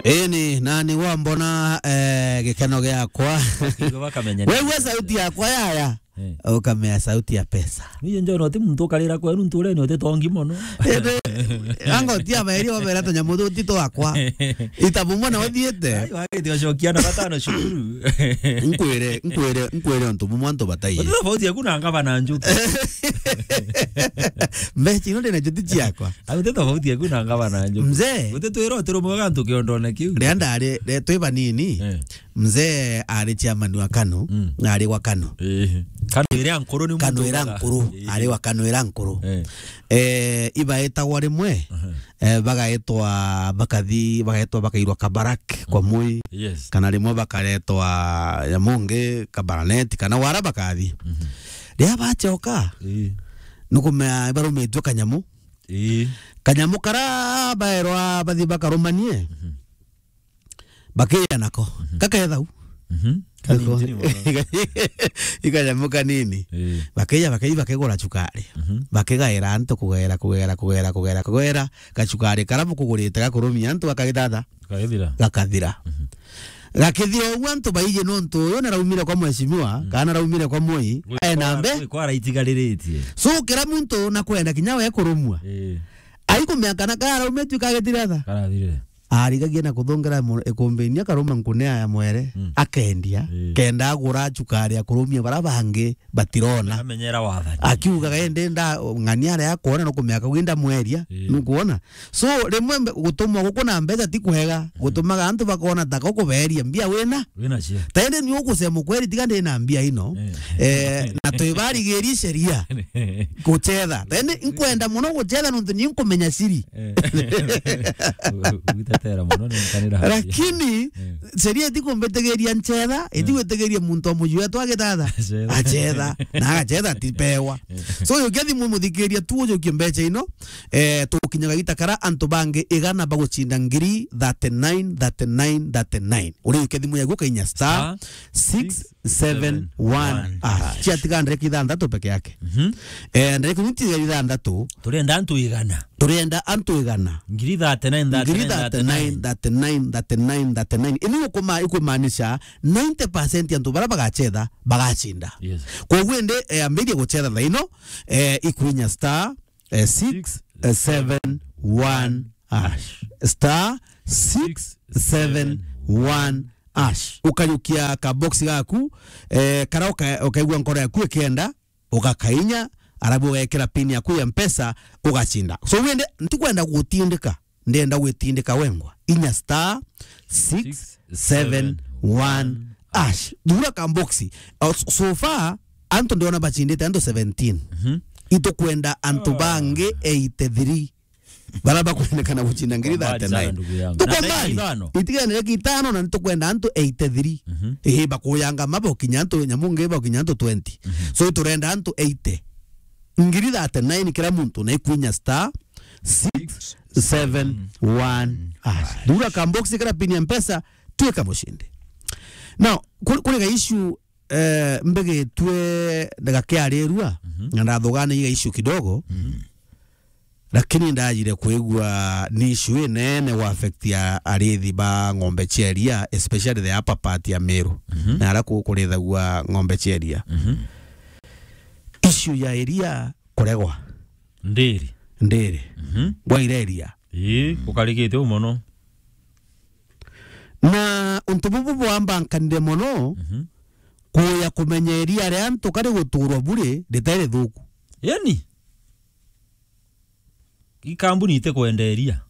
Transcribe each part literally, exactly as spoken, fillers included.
Eni, nani wambona, eh, gikeno giakwa? Bakamenya. Wewe sauti yakwa yaya. Eh. Ukamea sauti ya pesa. Niye njona uti muntu ukarira kwenu nturene uti tongi mono. Ende, anga uti abairi obera tunyamu tuti twakwa. Itabu mwana uthiite. Ai, wagite ucokia na batano cukuru. Nkwire, nkwire, nkwire untu bumwe antu bataiye. Uti tofauti yaku na ngavana Njuki. Mbeca ino ndina njuti ciakwa. Au uti tofauti yaku na ngavana Njuki. Mzee. Uti twira uti rumwe gantu kiondone kiu. Ria ndari, ri-, twi banini. Eh. Mzee ari chairman wa KANU, mm, na ari wa KANU. Eh. KANU iria nkuru ni KANU muntu iria uga-, nkuru, eh, ari wa KANU iria nkuru. Eh. Eh, ibaetagwa rimwe, aha, eh, bagaetwa bakathi, bagaetwa bakairwa Kabarak kwa, mhm, Moi. Yes. Kana rimwe bakaretwa ya mungi Kabaraneti, kana wara bakathi. Mhm. Ria bachoka, eh, nukumea ibarumitwe kanyamu. Eh. Kanyamu kara baerwa bathi bakarumanie. Mhm. Bakiya nako. Mhm. Kakethau. Mhm. Kanini mono. Ikanyamu kanini. Eh. Bakiya, bakiya, bakigura chukari. Mhm. Bakigaira antu kugaira, kugaira, kugaira, kugaira, kugaira. Gachukari kara bukugurite gakurumia antu gakagithatha. Gakagithira. Gakathira. Mhm. Gakithira uguo antu baiji nontu uyu naraumire kwa mheshimiwa, mm, kana naraumire kwa Moi, gwikwa, aena mbe. Gwikwa araitigariritie. So, kira muntu nakwenda kinya we kurumwa. Eh. Aikumea kana karaumite kagithiratha. Karathire. Arigagia na kuthongera mu-, ikumbinia karuma nkunea ya mwere, mm, akendia, mm, kenda agura chukari ya kurumia bara bangi batirona. Amenyera wathani. Akiugaga, "Ende nda ng'ania aria akwona nukumea kau inda mweria, mm, nukwona?" So, rimwe mbe-, gutumwa guku na mbeca ti kwega, mm, gutumaga antu bakona ta ko kuberia mbia wina. Wina cia. Tende ni ukusema kweri tiga ndi na mbia ino. Mm. Eh, na twibarigiri sheria. Guchetha. Tende nkwenda muno guchetha nontu ni nkumenya siri. Eh. Gwitetera mono ni nkanira. Lakini, eh, sheria itikumbitigiria nchetha, eh, itigwitigiria muntu wa muji wetu agithatha. Achetha. Achetha. Na agachetha atipewa. Eh. So, ujukia thimu muthikiria tu ujukie mbeca ino. Eh, tugukinyaga gita kara antu bangi igana bagucinda ngiri thirty-nine, thirty-nine, thirty-nine. Urijukia thimu yaku ukainya star six seven one hash. Ciatiga ndereka ithanthatu peke yake. Mhm. Eh, ndereka iu ti ithanthatu. Turenda antu igana. Turenda antu igana. Ngiri thirty-nine, ngiri thirty-nine, thirty-nine, thirty-nine, thirty-nine, thirty-nine. Ini ukuma-, ikumaanisha ninety percent ya antu bara bagachetha, bagacinda. Yes. Koguo indi, eh, ambirie guchetha thaino, eh, ikwinya star, eh, six seven one hash. Star six seven one hash. Ukajukia ka box gaku, eh, kara uka-, ukaigua nkoro yaku ikenda, ugakainya, arabu ugekira pin yaku ya Mpesa, ugacinda. So, wende, ntikwenda gutindika, ndenda gwitindika wengwa. Inya star six seven one hash. Thura ka box. Uh, so, so far, antu ndiona bacindite antu seventeen. Mhm. Itukwenda antu bangi eighty-three. Bara bakwendekana gucinda ngiri thirty-nine. Kwa mbali sana, ndugu yangu. Tuko mbali. Itiga ndereka ithano na nitukwenda antu eighty-three. Mhm. Ii, bakuyanga mabo kinya antu nyamu ngi bo kinya antu twenty. Mhm. So turenda antu eighty. Ngiri thirty-nine kira muntu na ikwinya star six seven one hash. Thura ka box kira pin ya Mpesa, twika mucindi. Now, kuri, kuri ga issue, eh, mbegitwe ndagakiarirua, mhm, na ndathugana iga issue kidogo. Mhm. Lakini ndajire kwigua ni issue inene gwa affect ya arithi ba ng'ombe cia iria, especially the upper part ya Meru. Mhm. Na ara ku-, kurithagua ng'ombe cia iria. Mhm. Issue ya iria kuregwa. Ndiri. Ndiri. Mhm. Gwaire iria. Ii, ukarigite u mono. Na untu bubu bwambankanire mono, mhm, kuya kumenya iria ria antu kari guturwa buri ritari rithuku. Yani? Ikambuni ite kwenderia.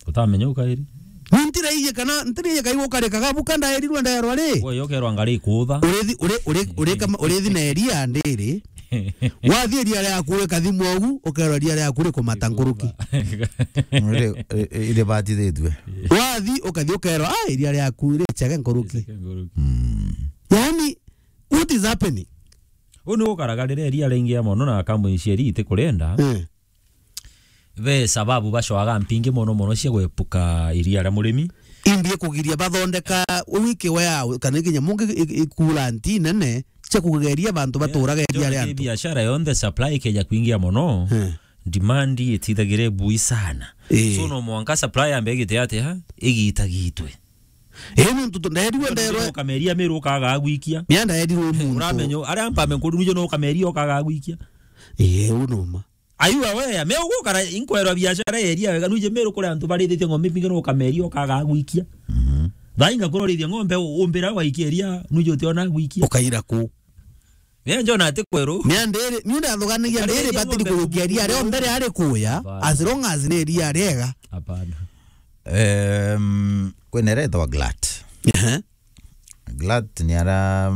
Utamenya ukairi. Ni ntiraiye kana, ntiraiye kai gukarikaga buka ndaerirwe nderwa ri. Wewe yokerwa ngari ikutha. Urithi, uri, uri, uri kama, urithi na iria ndiri. Wathi iria riaku rikathimwa ugu, ukerwa iria riaku rikumata nkuruki. Iri, iri, iri batithitue. Wathi ukathi ukerwa, "Ah, iria riaku ri chege nkuruki." Chege nkuruki. Mm. Yani, what is happening? U ni gukaraga riria iria riingia mono na kambuni cia iria itikurenda. Eh. Ve sababu bacwaga mpingi mono mono cia gwepuka iria ria murimi. Imbi ikugiria bathondeka wiki wea kana kinya mungi i-, i-, ikuranti nene cia kugeria bantu baturaga iria ria antu. Biashara yonthe supply ikeja kuingia mono. Eh. demand itithagire bui sana. Ii. So no mwanka supply ambe igite atia, igitagitwe. Ii, nontu tu-, ndaerirwe nderwe. Ukameria Meru ukaga gwikia. Mia ndaerirwe muntu. Uramenyo, aria mpame nkuru nijo no ukameria ukaga gwikia. Ii, u numa. Are you aware? Me ugukara inkwerwa biashara eria wega, nuje Meru kuri antu barithitie ng'ombe mbingi no ukameria ukaga gwikia. Mhm. Thainga kurorithia ng'ombe u-, umbira waikia eria, nuje utiona gwikia. Ukaira ku? Ni njona ati kweru. Ni andiri, ni ndathuganagia ndiri batiri kurukia ria rio mbere ari kuya, as long as ni ria riega. Hapana. Em, kwina ira itagwa glut. Ehe. Glut ni ara,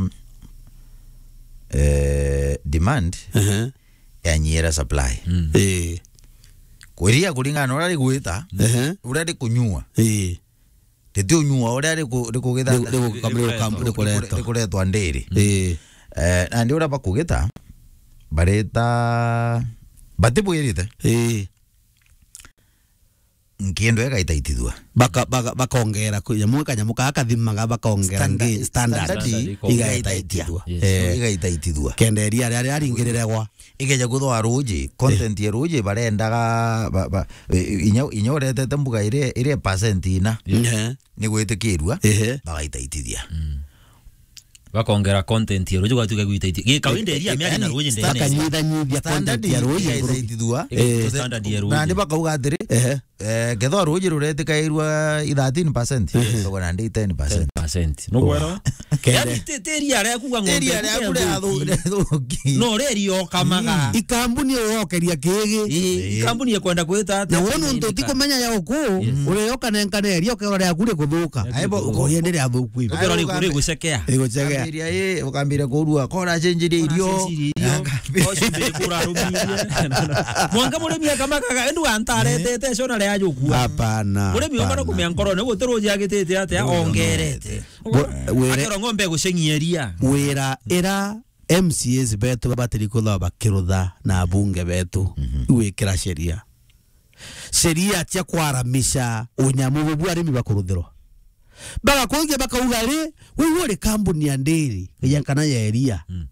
eh, demand, ehe, yanyiira supply. Mm. Ii. Kwiria kuringana na uria rigwita, ehe, uria rikunyua. Ii. Ritiunyua uria riku-, rikugitha-, riku-, riku-, riku-, rikuretwa. Rikuretwa ndiri. Ii. Eh, nandi uria bakugita, barita, batibwirite. Ii. Nkiendo igaitaitithua. Baka-, baka-, bakongera kwi nyamu, kanyamu kaa kathimaga, bakongera standard, ngi-, standard standard igaitaitithua. Igaitaitithua. Yes. Eh. Igaitaitithua. Kenda iria riria riaringiriregwa. Ikeja kwithwa ruuji, content ya ruuji barendaga, ba, ba, i-, inya, inya uretete mbuga iria, iria percent ina. Yes. Ehe. Ni gwitikirua, ehe, bagaitaitithia. Mm. Bakongera content ya ruuji, gwatuika gwitaithia. Gi kawaida iria miari na ruuji ndene. Bakanyithanyithia content ya ruuji iguru. Igaitaithua. Eh. Standard ya ruuji. Na ni bakauga atiri, ehe, eh, kethwa ruuji ruretikairua i thirteen percent, ehe, tugwe na ndi ten percent. Ten percent. Nugwero? Kere. Yani, ti-, ti iria ria kuga ng'ombe. Iria ria kure athu-, athuki. No, ria ria okamaga. Mm. Ikambuni uokeria kigi. Ii, eh, ikambuni ikwenda kwita atia? Na wona untu utikumenya ya uku, yes, ureyoka nenkane ria ukethwa ria kure kuthuka. Aibo, uko-, uko-, yende ria thuku ibi. Ukethwa ri-, ukambi-, rigucekea. Rigucekea. Ukambiria, ii, ukambiria kurua, kora cenjirie irio. Cenjirie irio. Ukambiria. Ocio mbere kura rumirie. Mwanka murimi akamakaga, endu antaretete, eh, cona ria jukua. Hapana, murimi omana hapana. Kumia nkorone, guti ruuji agitite atia, ruuji ongerete. Ongerete. Bo-, wire-, akero ng'ombe guceng'ia iria. Wira ira M C As betu babatiri kwithirwa bakirutha na abunge betu, mhm, igwikira sheria. Sheria cia kwaramisha unyamu bubu arimi bakuruthirwa. Bagakuruthia bakauga ri, wi uri kambuni ya ndiri, ya kana ya iria. Mm.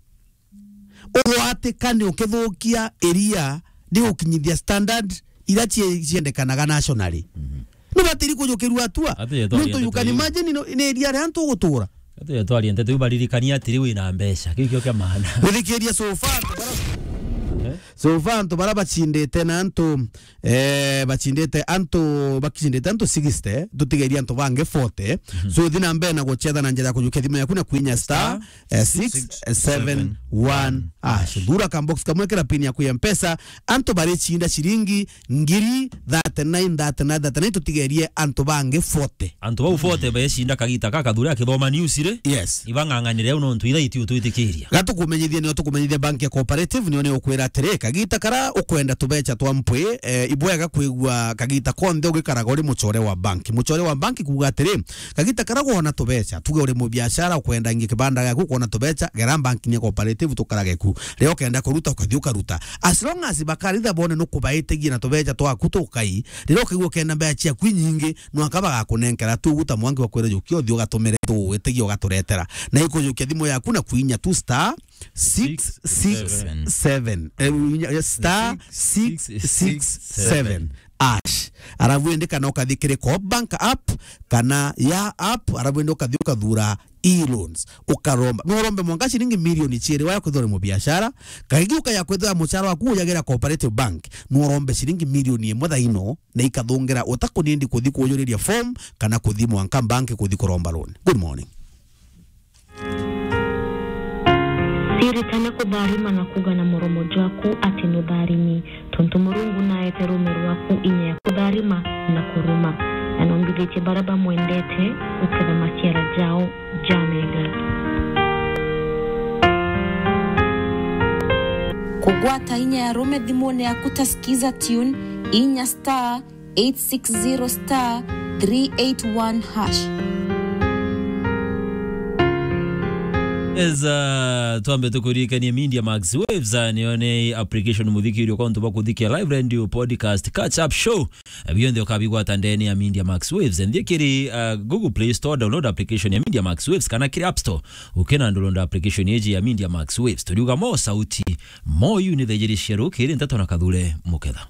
Ugwatika ni ukithukia iria, ni gukinyithia standard ira cie-, ciendekanaga nationally. Mhm. Nubatiri kujukirua atua. Ati yetwa nuntu you can imagine no, ni iria ria antu gutura. Ati yetwa ria nteto, baririkania atiri wina mbeca. Kiu kio kia maana. Guthikiria so far, antu bara-, eh? So far, antu bara bacindite na antu, eh, bacindite antu, bacindite antu sixty, tutigeria antu bangi forty. Mhm. So, thi na mbere na gucetha na njira ya kujukia thimu yaku na kwinya star, eh, six seven one hash. Thura ka box kamwe kira pin yaku ya Mpesa, antu baricinda ciringi ngiri thirty-nine, thirty-nine, thirty-nine, tutigerie antu bangi forty. Antu bau forty becinda kagita ka Kathure akithoma news ri? Yes. Ibang'ang'anire au nontu ithaiti utwitikiria. Gatukumenyithia nio tukumenyithia bank ya Cooperative nio ni ukwira atiri, kagita kara ukwenda tubecha twa mpwi, eh, ibwega kwigua kagita konthe ugikaraga uri muchore wa bank. Muchore wa bank kuuga atiri, kagita kara wona tubecha, tuge uri mubiashara ukwenda ingi kibanda giaku, ukwona tubecha, gera bank ni ya Cooperative tukarage ku. Riria ukenda kuruta, ukathi ukaruta. As long as bakaritha bone nukubaitigie na tubecha twaku tukai, riria ukaigua ukenda mbecha ciaku inyingi, nwaka bagakunenkera tu uguta mwanki wa kwira jukia uthi ugatumire tu witigie ugaturetera. Na ikujukia thimu yaku na kwinya tu star six six seven. Eh, star six six seven hash. Arabu indi kana ukathi kiri Co-op Bank app, kana ya app, arabu indi ukathi ukathura e-loans, ukaromba. No urombe mwanka ciringi milioni ciiri waya kwithirwa uri mubiashara, kaingi ukaya kwithirwa mucara waku ujagera Cooperative Bank, no urombe ciringi milioni imwe thaino, na ikathungira utakunindi kuthi kujuriria form kana kuthi mwanka bank kuthi kuromba loan. Good morning. Ciritane kutharima na kuuga na muromo jwaku ati nutharimi, tontu Murungu naete ruume rwaku inya ya kutharima na kuruma, na nombithitie baria bamwendete guketha maciara jao jamega. Kugwata inya ya ruume thimune yaku ta Skiza Tune, inya star eight six zero star three eight one hash. Yes, uh, twambe tukuririkanie Media Max Waves, uh, niyo ni application muthikirio kwa untu bwa kuthikia live radio, podcast, catch up show. Uh, bionthe ukabigwata ndene ya Media Max Waves. Nthie kiri, uh, Google Play Store, download application ya Media Max Waves, kana kiri App Store, ukina download application yeji ya Media Max Waves. Turiuga mo sauti, mo yu ni thejeri cia rukiri nteto na Kathure Muketha.